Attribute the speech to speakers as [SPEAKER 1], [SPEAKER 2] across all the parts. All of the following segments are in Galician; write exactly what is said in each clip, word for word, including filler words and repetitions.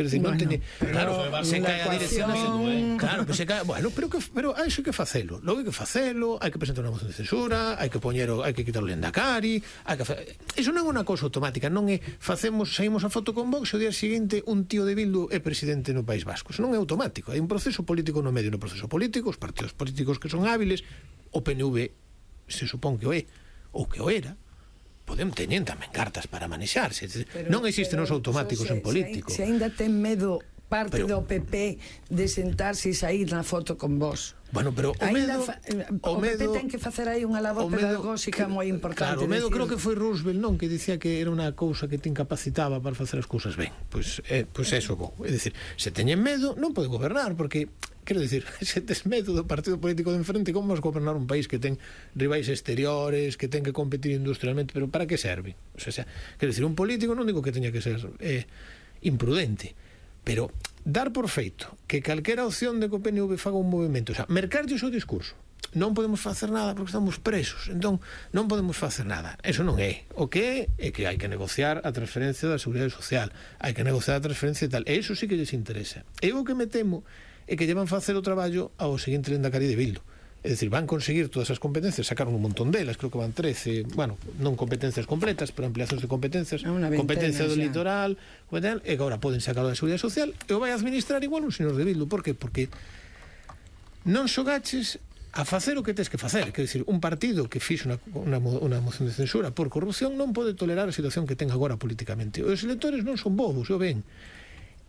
[SPEAKER 1] quero dicir, non teñe, claro,
[SPEAKER 2] se cae a dirección,
[SPEAKER 1] claro, que se cae, bueno, pero que pero hai que facelo, logo hai que facelo, hai que presentar unha moción de censura, hai que poñer, hai que quitar o Lendakari, hai que iso non é unha cousa automática, non é facemos, saímos a foto con Vox e o día seguinte un tío de Bildu é presidente no País Vasco. Iso non é automático, hai un proceso político no medio, no proceso político, os partidos políticos que son hábiles, o P N V se supón que o é, ou que o era, podem teñen tamén cartas para manexarse. Pero, non existen os automáticos se, en político.
[SPEAKER 3] Se, se ainda ten medo parte
[SPEAKER 1] pero,
[SPEAKER 3] do P P de sentarse e sair na foto con vos.
[SPEAKER 1] Bueno, pero o medo, fa,
[SPEAKER 3] o, o medo, P P ten que facer aí unha labor pedagóxica moi importante.
[SPEAKER 1] Claro, o medo creo que foi Roosevelt, non, que dicía que era unha cousa que te incapacitaba para facer as cousas ben. Pois pues, eh, pois pues eso vou. É dicir, se teñen medo non pode gobernar, porque quero dicir, se tes medo do partido político de enfrente, como vas gobernar un país que ten rivais exteriores, que ten que competir industrialmente, pero para que serve? O sea, quero dicir, un político non digo que teña que ser eh, imprudente, pero dar por feito que calquera opción de que o P N V faga un movimento, o sea, mercarlle o seu discurso, non podemos facer nada porque estamos presos, entón non podemos facer nada, eso non é. O que é, é que hai que negociar a transferencia da Seguridade Social, hai que negociar a transferencia e tal, e iso sí que lles interesa. E o que me temo é que llevan facer o traballo ao seguinte Lendakari de Bildu. É dicir, van conseguir todas as competencias, sacaron un montón delas, creo que van trece, bueno, non competencias completas, pero ampliacións de competencias, competencia do litoral, e agora poden sacar da Seguridade Social, e o vai administrar igual un señor de Bildu. Por que? Porque non xogaches a facer o que tes que facer. Quer dizer, un partido que fixe unha, unha, unha moción de censura por corrupción non pode tolerar a situación que ten agora políticamente. Os electores non son bobos, o ven.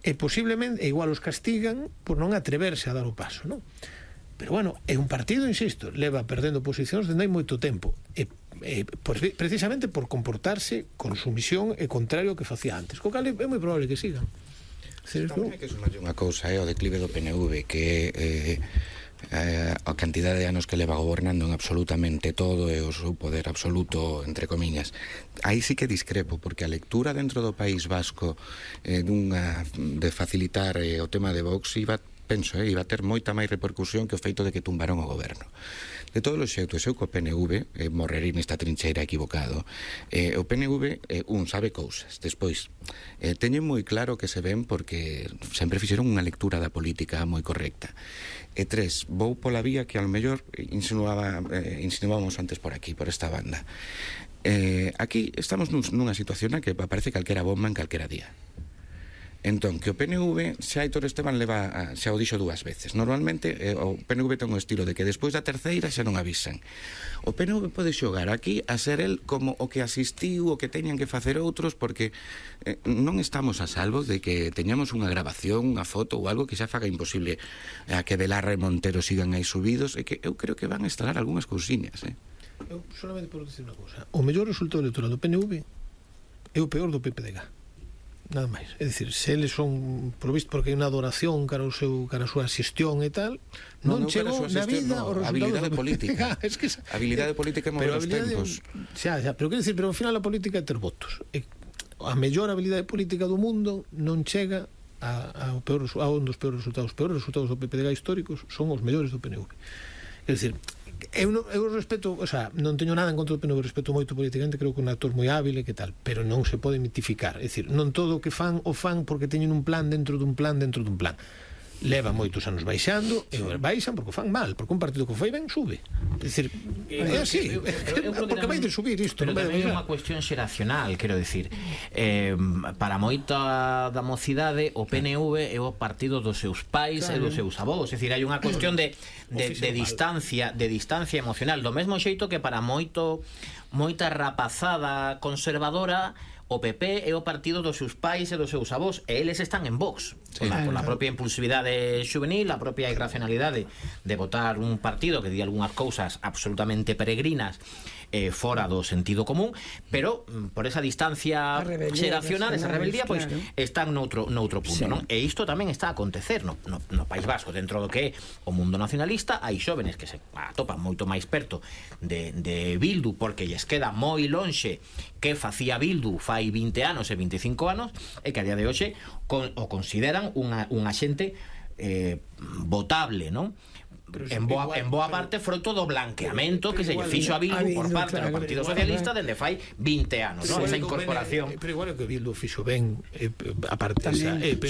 [SPEAKER 1] E posiblemente, e igual os castigan por non atreverse a dar o paso, non? Pero bueno, é un partido, insisto, leva perdendo posicións dende hai moito tempo, e, e por, precisamente por comportarse con sumisión e contrario ao que facía antes, co cal é moi probable que sigan.
[SPEAKER 4] Tamén hai que sumarlle unha cousa, é o declive do P N V, que eh, eh, a cantidade de anos que leva gobernando en absolutamente todo e o seu poder absoluto, entre comiñas. Aí sí que discrepo, porque a lectura dentro do País Vasco eh, dunha, de facilitar eh, o tema de Vox iba, penso, eh, iba a ter moita máis repercusión que o feito de que tumbaron o goberno. De todos os xeitos, eu co P N V eh, morrerei nesta trincheira equivocado. Eh, o P N V, eh, un, sabe cousas. Despois, eh, teñen moi claro que se ven porque sempre fixeron unha lectura da política moi correcta. E tres, vou pola vía que ao mellor insinuaba, eh, insinuábamos antes por aquí, por esta banda. Eh, aquí estamos nunha situación na que aparece calquera bomba en calquera día. Entón, que o P N V, xa Aitor Esteban leva, a, xa o dixo dúas veces. Normalmente, eh, o P N V ten un estilo de que despois da terceira xa non avisan. O P N V pode xogar aquí a ser el como o que asistiu, o que teñan que facer outros, porque eh, non estamos a salvo de que teñamos unha grabación, unha foto ou algo que xa faga imposible a que Belarra e Montero sigan aí subidos, e que eu creo que van a instalar algunhas cousiñas, eh?
[SPEAKER 1] Eu solamente por decir unha cousa, o mellor resultado electoral do P N V é o peor do P P D G. Nada máis, é dicir, se eles son provisto porque hai unha adoración cara ao seu, cara a súa xestión e tal, non, non chegou na vida
[SPEAKER 4] no,
[SPEAKER 1] o resultado
[SPEAKER 4] habilidade política.
[SPEAKER 1] Es que esa,
[SPEAKER 4] habilidade política é mover os tempos.
[SPEAKER 1] Xa, xa, pero quero dicir, pero ao final a política é ter votos. E a mellor habilidade política do mundo non chega a, a, peor, a un dos peores resultados. Os peores resultados do P P D G históricos son os mellores do P N V. É dicir, eu, non, eu respeto, o sea, non teño nada en contra do P N V, respeto moito políticamente, creo que é un actor moi hábil e que tal, pero non se pode mitificar. É dicir, non todo o que fan o fan porque teñen un plan dentro dun plan dentro dun plan. Leva moitos anos baixando e baixan porque o fan mal, porque un partido que foi ben sube. É dicir, é así, porque vai de subir isto.
[SPEAKER 2] Pero tamén é unha cuestión xeracional, quero dicir, eh, para moita da mocidade o P N V é o partido dos seus pais e dos seus avós, é dicir, hai unha cuestión de, de, de distancia de distancia emocional, do mesmo xeito que para moito moita rapazada conservadora o P P é o partido dos seus pais e dos seus avós, e eles están en Vox, sí, pola, pola propia impulsividade juvenil, a propia irracionalidade de votar un partido que di algunhas cousas absolutamente peregrinas eh, fora do sentido común, pero por esa distancia xeracional, esa rebeldía, pois claro, están noutro, noutro punto, sí, non? E isto tamén está a acontecer no, no, no País Vasco, dentro do que é o mundo nacionalista. Hai xóvenes que se atopan moito máis perto de, de Bildu porque lles queda moi lonxe que facía Bildu fai vinte anos e vinte e cinco anos, e que a día de hoxe con, o consideran unha, unha xente eh, votable, non? En boa, igual, en boa parte froito do blanqueamento que se lle fixo a Bildu, a Bildu por parte claro, do Partido Socialista dende fai vinte anos, ¿no? Esa incorporación.
[SPEAKER 1] Pero igual que Bildu fixo ben, eh, aparte esa, eh,